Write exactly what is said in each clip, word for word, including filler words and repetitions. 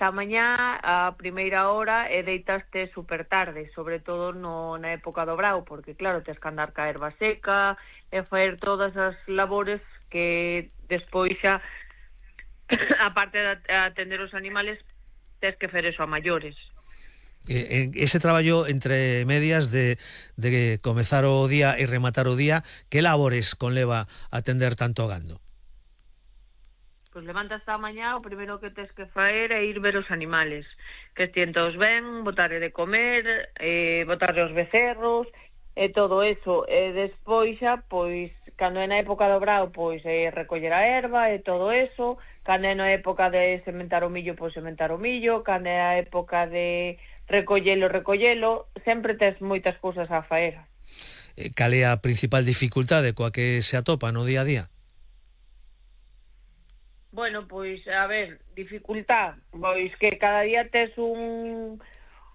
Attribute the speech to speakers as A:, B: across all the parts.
A: esta mañá a primeira hora e deitaste super tarde, sobre todo no, na época do brao, porque claro, tes que andar ca erva seca e faer todas as labores que despois xa, aparte de atender os animales, tes que fer eso a maiores.
B: Eh, ese traballo entre medias de, de comezar o día e rematar o día, que labores conleva atender tanto gando?
A: Pois levantas esta mañá, o primeiro que tes que faer é ir ver os animales, que estien todos ben, botarle de comer, eh, botarle os becerros, e todo eso. E despois xa, pois, cando é na época do brao, pois é recoller a erva e todo eso, cando é na época de sementar o millo, pois sementar o millo, cando é a época de recollelo, recollelo, sempre tes moitas cousas a faer.
B: Cal é a principal dificultade coa que se atopa no día a día?
A: Bueno, pois, a ver, dificultad, pois que cada día tes un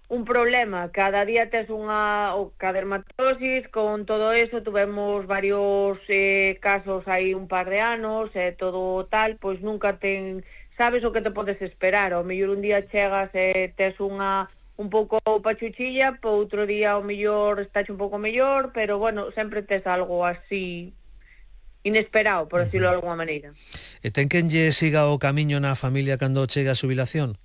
A: un problema, cada día tes unha o ca dermatosis, con todo eso tuvemos varios eh, casos hai un par de anos, e eh, todo tal, pois nunca ten, sabes o que te podes esperar, ao mellor un día chegas e eh, tes unha un pouco pachuchilla, po outro día o mellor estás un pouco mellor, pero bueno, sempre tes algo así inesperado, por decirlo de alguma maneira.
B: E ten quen lle siga o camiño na familia cando chega a xubilación?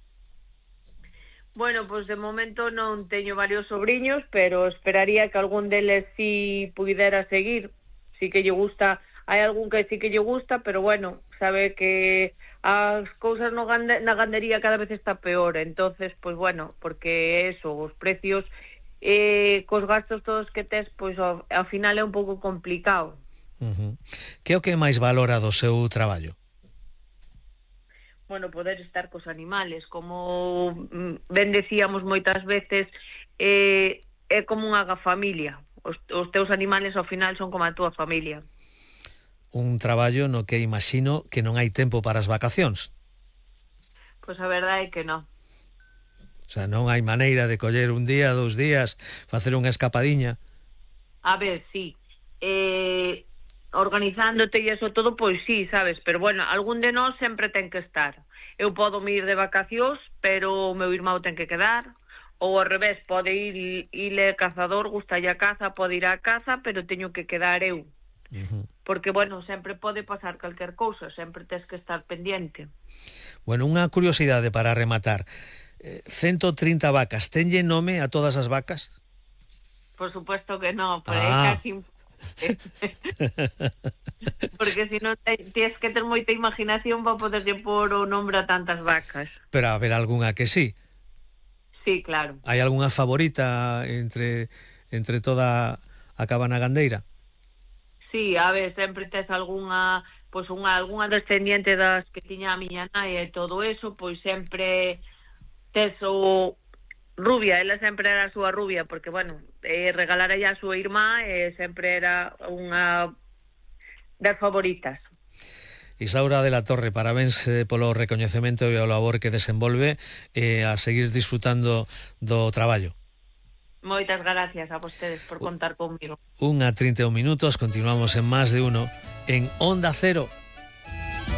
A: Bueno, pois de momento non teño varios sobriños, pero esperaría que algún deles si pudera seguir, si que lle gusta, hai algún que si que lle gusta, pero bueno, sabe que as cousas no gande, na gandería cada vez está peor, entonces, pois bueno, porque eso, os precios eh, cos gastos todos que tes, pois ao, ao final é un pouco complicado.
B: Uh-huh. Que é o que máis valora do seu traballo?
A: Bueno, poder estar cos animales, como ben decíamos moitas veces, eh, é como unha familia, os, os teus animales ao final son como a túa familia.
B: Un traballo no que imagino que non hai tempo para as vacacións.
A: Pois a verdade é que non.
B: O sea, non hai maneira de coller un día, dous días, facer unha escapadiña.
A: A ver, sí. Eh, organizándote e eso todo, pois sí, sabes, pero bueno, algún de nós sempre ten que estar. Eu podo me ir de vacacións, pero o meu irmão ten que quedar, ou ao revés, pode ir ile cazador, gustalle a caza, pode ir á caza, pero teño que quedar eu. Uh-huh. Porque, bueno, sempre pode pasar calquer cousa, sempre tes que estar pendiente.
B: Bueno, unha curiosidade para rematar. Eh, ciento trinta vacas, tenlle nome a todas as vacas?
A: Por supuesto que non, pero
B: ah.
A: é casi... porque si non tienes que ter moita imaginación para poderlle pôr o nombre a tantas vacas.
B: Pero a ver algunha que sí.
A: Sí, claro.
B: Hai algunha favorita entre entre toda a cabana gandeira?
A: Sí, a ver, sempre tes algunha, pois unha algunha descendiente das que tiña a miña nai e todo eso, pois sempre tes o Rubia, ela sempre era a súa rubia, porque, bueno, eh, regalara ella a súa irmá e sempre era unha das favoritas.
B: Isaura de la Torre, parabéns eh, polo recoñecemento e o labor que desenvolve e eh, a seguir disfrutando do traballo.
A: Moitas gracias a vostedes por contar comigo.
B: Unha trinta e un minutos, continuamos en Más de Uno en Onda Cero.